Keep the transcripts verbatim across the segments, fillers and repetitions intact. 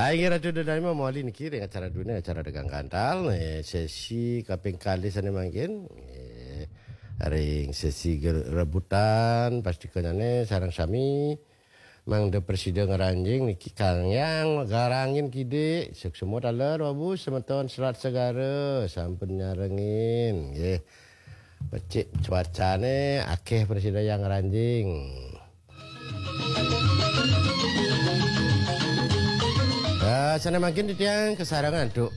Ah, inggih Ratu Dodani mawali niki ring acara duene, acara Dagang Gantal, eh, sesi kaping kalih sane mangkin. Eh, ring sesi ge-, rebutan, pastikanyane sareng sami mangda prasida ngranjing niki Kang Yang garangin kidik, suksma taler, Babu, semeton Selat Segara, sampun nyarengin, nggih. Becik cuacane, akeh prasida yang ngranjing. Ah, sane mangkin titiang kasarengin antuk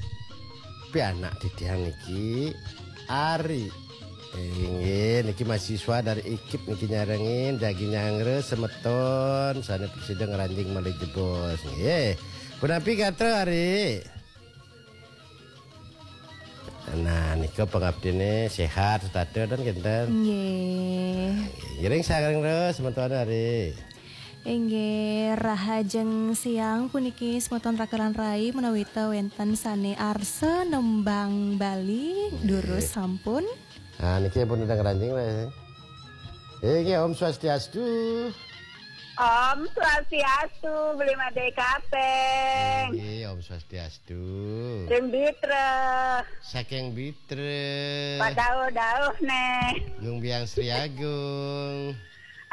pianak titiang niki, Ari. Inggih, niki mahasiswa dari I K I P niki nyarengin, jagi nyanggra semeton sane prasida ngranjing malih jebos, nggih. Punapi gatra, Ari? Nah, nika pangaptine sehat setata dan kinten. Nggih. Ngiring sareng terus semeton, Ari. Inggih, rahajeng siang puniki semeton raka lan rai, menawita wenten sane arsa nembang Bali, durus sampun. Ah, niki pun udah ngranjing, weh. Inggih, Om Swastiastu. Om Swastiastu, Beli Made Kapeng. Inggih, Om Swastiastu. Ring Bitra. Saking Bitra. Pak Dauh-dauh ne. Gung Biang Sri Agung.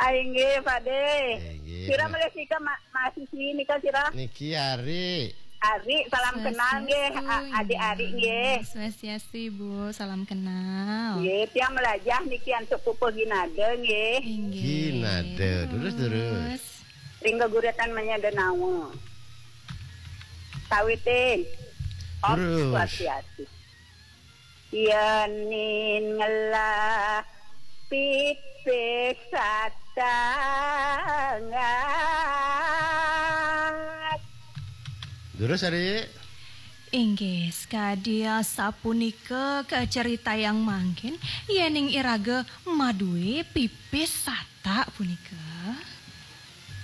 Ah, inggih, Pade. Inggih, sira Pak. Malih sika ma-, mahasiswi nika sira? Niki Ari. Ari, salam kenal nggih, A-, adik-adik nggih. Swastiastu, Ibu. Salam kenal. Nggih, tiang melajah niki antuk pupuh Ginada nggih. Inggih. Ginada. Terus, terus. Ring geguretan manyada nawa. Sawitin. Om Swastiastu. Yenin ngelah pipis satangat. Durus, Ari. Inggih, sakadi asapunika kacaritayang mangkin, yening iraga madue pipis satak punika.